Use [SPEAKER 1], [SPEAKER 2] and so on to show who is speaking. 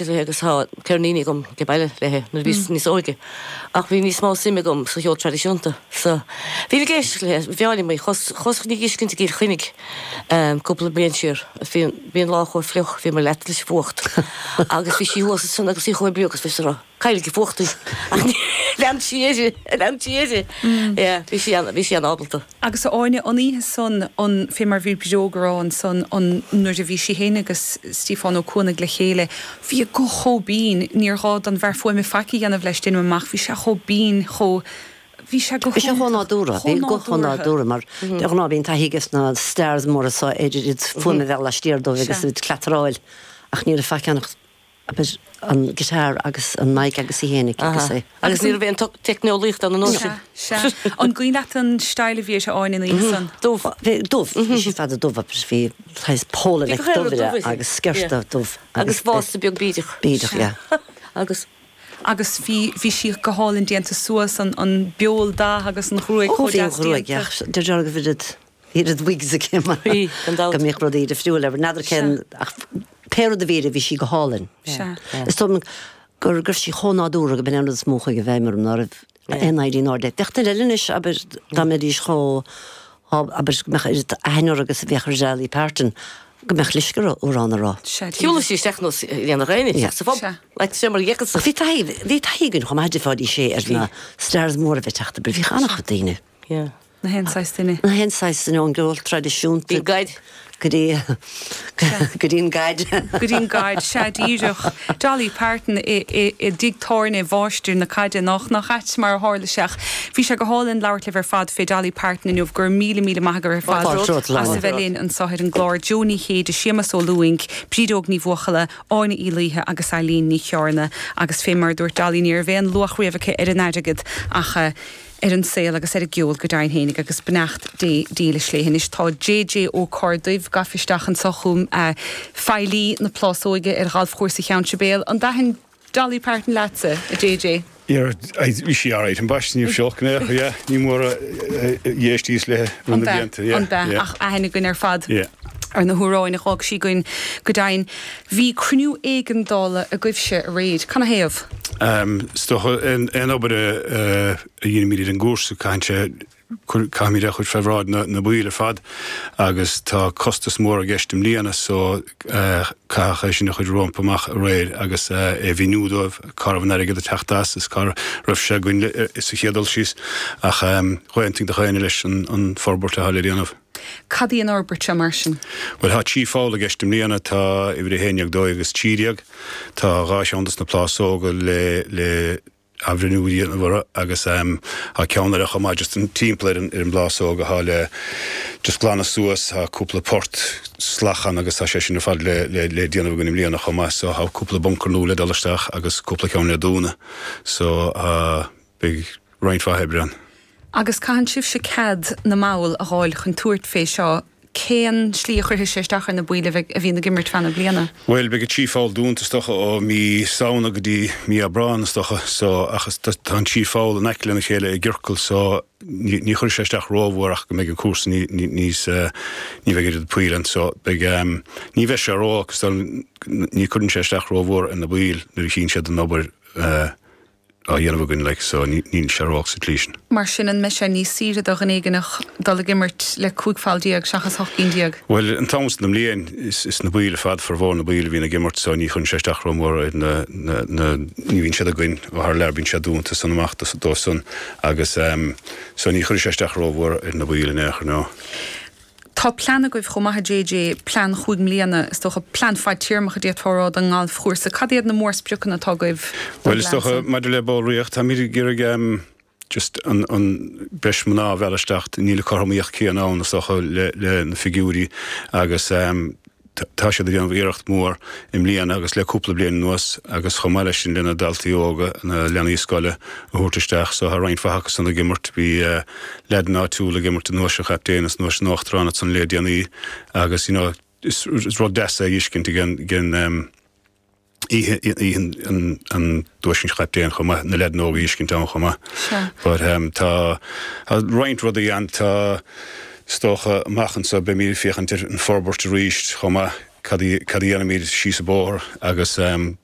[SPEAKER 1] éisteacht léi agus tá ceirníní agam ag baile léi nuair a bhíos níos óige ach bhí níos mó suim agam sa cheol traidisiúnta so bhínn ag éisteacht léi, b'fhearr liom í, chuas chun í a fheiscint i gCill Chainnigh cúpla bliain siar agus bhí bhí an lá chomh fliuch, bhíomar leata leis an bhfuacht agus bhí sí thuas ansan agus í chomh bríoch agus bhí sí ag rá cailleadh ag fuacht í ach lean sí uirthi, lean sí uirthi, yeah bhí sí an bhí sí an-ábalta.
[SPEAKER 2] Agus a Áine, an oíche san, an, fé mar bhí Brídeog a rá ansan, an, nuair a bhí sí fhéin agus Stiofán Ó Cuanaigh le chéile, bhí a guth chomh binn, níor ghá don bhfear fuaime faic a dhéanamh leis, déanaim amach, bhí sé chomh binn, chomh, bhí sé go
[SPEAKER 3] Bhí sé chomh
[SPEAKER 2] hiontach,
[SPEAKER 3] nádúrtha, bhí
[SPEAKER 2] chomh
[SPEAKER 3] guth chomh
[SPEAKER 2] nádúrtha.
[SPEAKER 3] nádúrtha, mar de ghnáth bíonn taithí ages na stars móra so ar oiread fuaime a bheith laistiar dóibh agus
[SPEAKER 2] Sea.
[SPEAKER 3] iad ag cleataráil, ach ní raibh faic ann ach abair, an guitar agus an mic agus í fhéinig agus é.
[SPEAKER 1] Agus ní raibh aon teicneolaíocht ann an uair sin.
[SPEAKER 2] Sea, sea. An gcuimhin leat an style a bhí uirthi, Áine, an oíche san?
[SPEAKER 1] Dubh.
[SPEAKER 3] Bhí, dubh. Bhí sí fada dubh agus bhí saghas polo
[SPEAKER 1] Bhí
[SPEAKER 3] neck
[SPEAKER 1] go
[SPEAKER 3] dubh
[SPEAKER 1] dubh
[SPEAKER 3] uirthi
[SPEAKER 1] uirthi.
[SPEAKER 3] agus sciorta dubh
[SPEAKER 1] Agus vásta beag bídeach.
[SPEAKER 3] Bídeach, yeah.
[SPEAKER 1] Agus.
[SPEAKER 2] Agus bhí, bhí sí go hálainn déanta suas, an, an beol dath agus an ghruaig
[SPEAKER 3] Ó,
[SPEAKER 2] chomh
[SPEAKER 3] bhí an
[SPEAKER 2] deas
[SPEAKER 3] ghruaig,
[SPEAKER 2] déanta.
[SPEAKER 3] yeah. Deir go bhfuil Bhí oiread wigs aici mar
[SPEAKER 1] Bhí, gan dabht.
[SPEAKER 3] go mbíodh rudaí difriúil air. N'fheadar cén, ach pé rud a bhí uirthi, bhí sí go hálainn.
[SPEAKER 2] Sea.
[SPEAKER 3] Is dóigh liom go raibh sí chomh nádúrtha go b'in é an rud is mó a chuaigh i bhfeidhm orm, ná raibh aon éirí in airde. Bheadh duine eile anois, abair, dá mbeidís chomh, abair, go mbeadh oiread aithne orthu agus a bheadh ar Dolly Parton, go mbeadh leisce orthu amhrán a rá.
[SPEAKER 2] Sea,
[SPEAKER 1] Shiúladh
[SPEAKER 2] díreach.
[SPEAKER 1] sí isteach nós dhéanfadh éinne isteach sa phub.
[SPEAKER 2] Sea.
[SPEAKER 1] Like sé mar gheicis.
[SPEAKER 3] Ach bhí taithí, bhí taithí againn chomh maith di fáidís sé ar na stars móra a bheith ag teacht, abair, bhí an-chuid daoine.
[SPEAKER 1] Yeah.
[SPEAKER 2] Na haon saghas duine.
[SPEAKER 3] Na haon saghas duine ón gceol traidisiúnta.
[SPEAKER 1] Bhí gaid.
[SPEAKER 3] Go dtí go dtí an gaid.
[SPEAKER 2] Go dtí an gaid, sea díreach. Dolly Parton i i dtigh tábhairne mháistir na caide, nach nach ait mar a tharla sé ach bhí sé go hálainn labhairt libh ar fad fé Dolly Parton inniu. Go raibh míle míle maith agaibh ar fad as a bheith linn anseo ar an gclár. Joe Ní Chéide, Séamus Ó Lúing, Brídeog Ní Bhuachalla, Áine Uí Laoithe agus Eileen Ní Chearna. Agus fé mar a dúirt Dolly ní raibh aon luach riamh aici ar an airgead ach. ar an saol agus ar an gceol go deimhin fhéinig agus beannacht Dé dílis léi. Anois tá JJ Ó Corrduibh gafa isteach anseo chugam, feighlí na Plásóige ar Ghalfchúrsa Cheann Sibéal. An dtaithin Dolly Parton leatsa, a JJ?
[SPEAKER 4] Yeah, bhí sí alright, ambaiste ní raibh sí olc in aon chor, yeah, ní mór a d'éistíos léi thar na blianta, yeah,
[SPEAKER 2] An b'ea,
[SPEAKER 4] yeah.
[SPEAKER 2] ach aithne againn ar fad
[SPEAKER 4] Yeah.
[SPEAKER 2] ar na hamhráin a dh'fhág sí againn go deimhin. Bhí cruinniú éigeandála agaibhse aréir. Canathaobh?
[SPEAKER 4] Is dócha, aon obair a dhéanaimid ar an gcúrsa, caitheann sé, caithfimid é a chur fé bhráid na baill ar fad agus tá costas mór i gceist i mbliana so caitheadh é sin a chur rompu amach aréir agus é a mhíniú dóibh cá raibh an airgead ag teacht as is cá raibh sé againn sa chéad dul síos ach dh'aontaigh gach éinne leis an forbairt atá le déanamh.
[SPEAKER 2] Cad í an fhorbairt seo mar sin?
[SPEAKER 4] Bhuel, tá 3 pholl i gceist i mbliana, tá uimhir 11, 12 agus 13. Tá 2 cheann dos na plásóga le le athbhreithniú a dhéanamh orthu agus tá ceann eile chomh maith just timpeall ar an ar an bplásóg atá le just glanadh suas, tá cúpla port salach ann agus tá sé sin ar fad le le le déanamh againn i mbliana chomh maith so tá cúpla buncar nua le dul isteach agus cúpla ceann le dúnadh so tá beidh roinnt mhaith oibre ann.
[SPEAKER 2] Agus caitheann sibhse cead na mball a dh'fháil chun tabhairt fé seo, cén slí a chuirfidh sé isteach ar na baill a bheidh, a bhíonn ag imirt feadh na bliana?
[SPEAKER 4] Bhuel, beidh an trí pholl dúnta is dócha ó mí Samhna go dtí mí Aibreán is dócha, so, ach is, tá an trí pholl in aice lena chéile i gciorcal so ní, ní chuirfidh sé isteach rómhór ach go mbeidh an cúrsa ní, ní, níos, ní bheidh oiread poill ann so beidh, ní bheidh sé ró-olc is dóigh, ní chuireann sé isteach rómhór ar na baill nuair a chíonn siad an obair. á dhéanamh againn like so níl sé ró-olc sa tslí sin.
[SPEAKER 2] Mar sin an mbeidh sé níos saoire do dhuine éigineach dul ag imirt le 15 pholl seachas 18 cinn?
[SPEAKER 4] Bhuel an t-am san den mbliain is is na baill ar fad formhór na baill a bhíonn ag imirt so ní chuireann sé isteach rómhór ar na na na ní bhíonn siad againn ó thar lear bíonn siad dúnta san amach dóibh san agus ehm so ní chuirfidh sé isteach rómhór ar na baill in aon chor no.
[SPEAKER 2] Tá plean agaibh chomh maith a JJ, plean chúig mbliana, is dócha, plean fadtéarmach a d'fhéadfá a rá don ngalfchúrsa. Cad iad na mórspriocanna atá agaibh
[SPEAKER 4] don Bhuel, is
[SPEAKER 2] bplean
[SPEAKER 4] dócha,
[SPEAKER 2] san?
[SPEAKER 4] maidir le ballraíocht, táimid ag iarraidh em just an, an breis mná a mhealladh isteach. Níl an cothromaíocht céanna ann, is dócha, le, le na figiúirí agus em tá siad ag déanamh iarracht mhór i mbliana agus le cúpla bliain anuas agus chomh maith leis sin le na daltaí óga, na leanaí scoile a thabhairt isteach. So tá roinnt mhaith acu san ag imirt. Bhí leaideanna áitiúla ag imirt i nDuais an Chaptaein is i nDuais an Uachtaráin ansan le déanaí agus you know is rud deas é a fheiscint ag an, ag an, oíche an Duais an Chaptaein chomh maith, na leaideanna óga a fheiscint ann chomh maith. But tá roinnt rudaí ann, tá is dócha amach anseo beimid ag féachaint ar an forbairt arís chomh maith, cad a dhéanfaimid síos an bóthar agus conas.